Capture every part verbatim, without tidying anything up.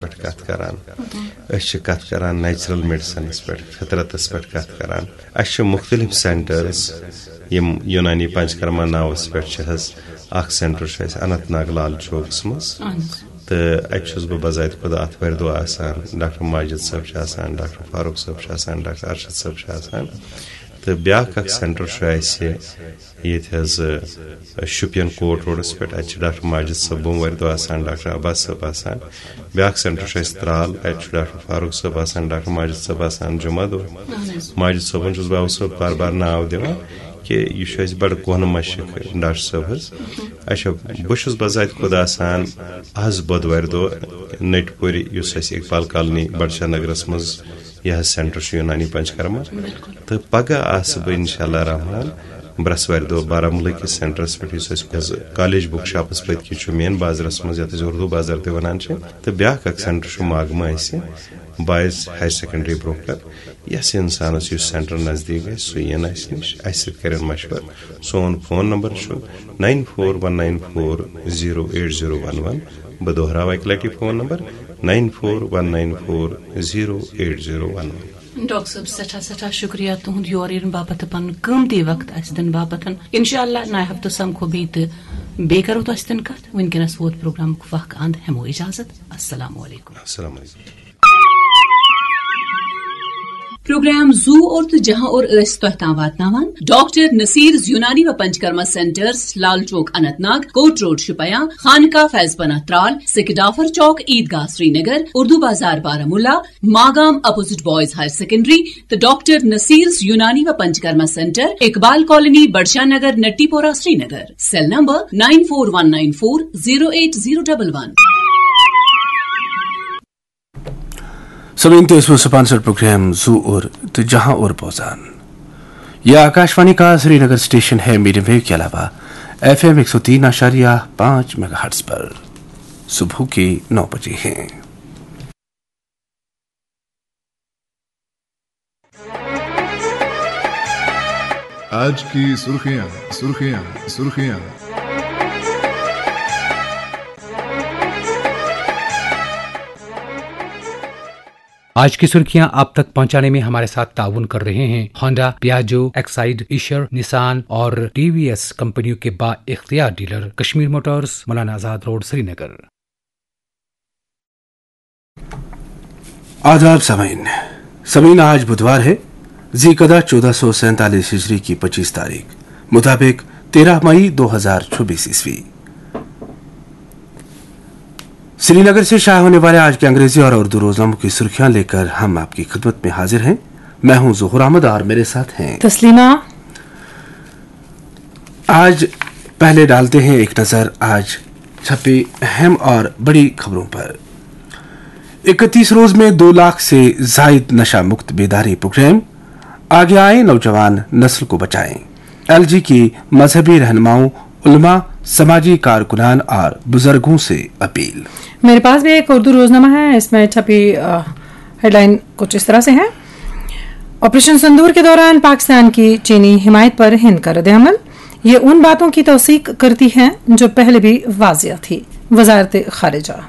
پٮ۪ٹھ کَتھ کَران۔ أسۍ چھِ کَتھ کَران نیچرل میڈیسنس پٮ۪ٹھ، فطرتس پٮ۪ٹھ کَتھ کَران۔ اَسہِ چھِ مُختٔلِف سینٹرز، یِم یوٗنانی پنچکرما ناوَس پٮ۪ٹھ چھِ حظ اَکھ سینٹر چھُ اَسہِ اننت ناگ لال چوکَس منٛز۔ اہن حظ۔ تہٕ اَتہِ چھُس بہٕ بذات خۄد آتھوارِ دۄہ آسان، ڈاکٹر ماجد صٲب چھِ آسان، ڈاکٹر فاروق صٲب چھِ آسان، ڈاکٹر ارشد صٲب چھِ آسان۔ تہٕ بیٛاکھ اَکھ سینٹر چھُ اَسہِ ییٚتہِ حظ، آ، شُپین کوٹ روڈَس پٮ۪ٹھ، اَتہِ چھِ ڈاکٹر ماجد صٲب بوموارِ دۄہ آسان، ڈاکٹر عباس صٲب آسان۔ بیٛاکھ سینٹر چھُ اَسہِ ترٛال، اَتہِ چھُ ڈاکٹر فاروق صٲب آسان، ڈاکٹر ماجد صٲب آسان جمعہ دۄہ۔ ماجد صٲبَن چھُس بہٕ اَوٕ صٲب بار بار ناو دِوان کہِ یہِ چھُ اَسہِ بَڑٕ کۄہنہٕ مَشرِق ڈاکٹر صٲب حظ۔ اچھا، بہٕ چھُس بذات خۄد آسان آز بۄدوارِ دۄہ نٔٹۍ پورِ، یُس اَسہِ اقبال کالونی بڈشاہ نگرَس منٛز یہِ حظ سینٹر چھُ یوٗنانی پنچکرما۔ تہٕ پگاہ آسہٕ بہٕ انشاءاللہ رحمان برٛٮ۪سوارِ دۄہ بارہمولہ کِس سینٹرس پٮ۪ٹھ، یُس اَسہِ حظ کالج بُک شاپس پٔتۍ کِنۍ چھُ مین بازرس منٛز، یَتھ أسۍ اردو بازر تہِ وَنان چھِ۔ تہٕ بیٛاکھ اَکھ سینٹر چھُ ماگمہٕ اَسہِ بوائز ہایر سیکنڈری برونٛہہ کَنہِ۔ یَس اِنسانَس یُس سینٹر نزدیٖک گژھِ، سُہ یِن اَسہِ نِش، اَسہِ سۭتۍ کَرن مشورٕ۔ سون فون نمبر چھُ nine four one nine four zero eight zero one one۔ بہٕ دۄہراوٕ اَکہِ لَٹہِ phone number, nine four one nine four zero eight zero one one۔ Doctor صٲب، سٮ۪ٹھاہ سٮ۪ٹھاہ شُکریہ تُہُنٛد یور یِنہٕ باپتھ تہٕ پنُن قۭمتی وقت اَسہِ دِنہٕ باپتھ۔ انشاءاللہ نَیہِ ہفتہٕ سمکھو بیٚیہِ تہٕ بیٚیہِ کرو تۄہہِ سۭتۍ کتھ۔ وٕنکیٚنس ووت پروگرامُک وق اند، ہٮ۪مو اجازت۔ السلام علیکم۔ السلام علیکم۔ پروگرام زو اور تہٕ جہاں اور ٲسۍ تۄہہِ تام واتناوان ڈاکٹر نصیرز یونانی و پنچکرما سینٹرز، لال چوک اننت ناگ، کوٹ روڈ شپیاں، خانقاہ فیض پناہ ترال، سکھ ڈافر Chowk, Idgah Srinagar, Urdu Bazar Baramulla, Magam opposite boys higher secondary تہٕ ڈاکٹر نصیرز یونانی و Panchakarma centre, Iqbal colony, Budshah Nagar, Natipora, Srinagar. Cell number nine four one nine four zero eight zero double one۔ سامعین، تُہۍ ٲسِو سپانسر پروگرام زو اور تہٕ جہاں اور بوزان۔ یہ آکاشوانی کا سری نگر اسٹیشن ہے، میڈیم ویو کے علاوہ ایف ایم ایک سو تین اعشاریہ پانچ میگا ہرٹز پر۔ صبح کے نو بجے ہیں۔ آج کی سرخیاں، سرخیاں، سرخیاں۔ آج کی سرخیاں آپ تک پہنچانے میں ہمارے ساتھ تعاون کر رہے ہیں ہونڈا، پیاجو، ایکسائڈ، ایشر، نسان اور ٹی وی ایس کمپنیوں کے با اختیار dealer Kashmir Motors, Maulana Azad road, سری نگر۔ آداب سامعین۔ سامعین، آج بدھوار ہے، ذی قعدہ چودہ سو سینتالیس ہجری کی پچیس تاریخ، مطابق تیرہ مئی دو ہزار چھبیس عیسوی۔ سری نگر سے شائع ہونے والے آج کے انگریزی اور اردو روزناموں کی سرخیاں لیکر ہم آپ کی خدمت میں حاضر ہیں۔ میں ہوں ظہور احمد اور میرے ساتھ ہیں تسلیمہ۔ آج پہلے ڈالتے ہیں ایک نظر آج چھپی اہم اور بڑی خبروں پر۔ اکتیس روز میں دو لاکھ سے زائد نشہ مکت بیداری پروگرام، آگے آئیں نوجوان نسل کو بچائیں، ایل جی کی مذہبی رہنماؤں، علماء، سماجی کارکنان اور بزرگوں سے اپیل۔ میرے پاس بھی ایک اردو روزنامہ ہے، اس میں چھپی، آ، ہیڈ لائن کچھ اس طرح سے ہے: آپریشن سندور کے دوران پاکستان کی چینی حمایت پر ہند کا رد عمل، یہ ان باتوں کی توثیق کرتی ہیں جو پہلے بھی واضح تھی، وزارت خارجہ۔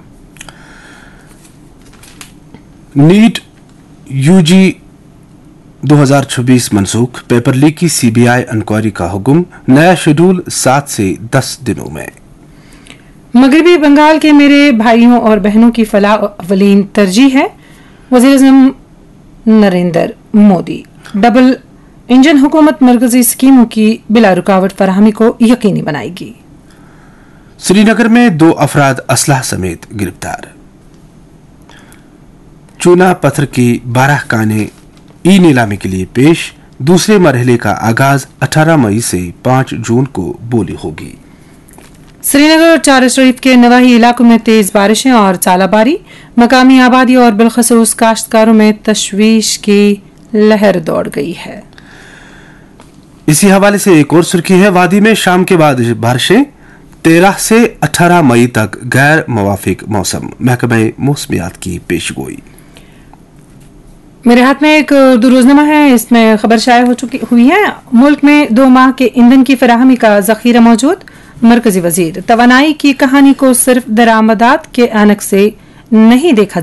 نیٹ یو جی دو ہزار چھبیس منسوخ، پیپر لیک کی سی بی آئی انکوائری کا حکم، نیا شیڈول سات سے دس دنوں میں۔ مغربی بنگال کے میرے بھائیوں اور بہنوں کی فلاح اولین ترجیح ہے، وزیر اعظم نریندر مودی۔ ڈبل انجن حکومت مرکزی اسکیموں کی بلا رکاوٹ فراہمی کو یقینی بنائے گی۔ سری نگر میں دو افراد اسلحہ سمیت گرفتار۔ چونا پتھر کی بارہ کانیں ای نیلامی کے لیے پیش، دوسرے مرحلے کا آغاز اٹھارہ مئی سے پانچ جون کو بولی ہوگی۔ سری نگر اور چار شریف کے نواحی علاقوں میں تیز بارشیں اور ژالہ باری، مقامی آبادی اور بالخصوص کاشتکاروں میں تشویش کی لہر دوڑ گئی ہے۔ اسی حوالے سے ایک اور سرخی ہے، وادی میں شام کے بعد بارشیں، تیرہ سے اٹھارہ مئی تک غیر موافق موسم، محکمہ موسمیات کی پیش گوئی۔ میرے ہاتھ میں ایک اردو روزنامہ ہے، اس میں خبر شائع ہو چکی ہوئی ہے: ملک میں دو ماہ کے ایندھن کی فراہمی کا ذخیرہ موجود، مرکزی وزیر۔ توانائی کی کہانی کو صرف درآمدات کے عینک سے نہیں دیکھا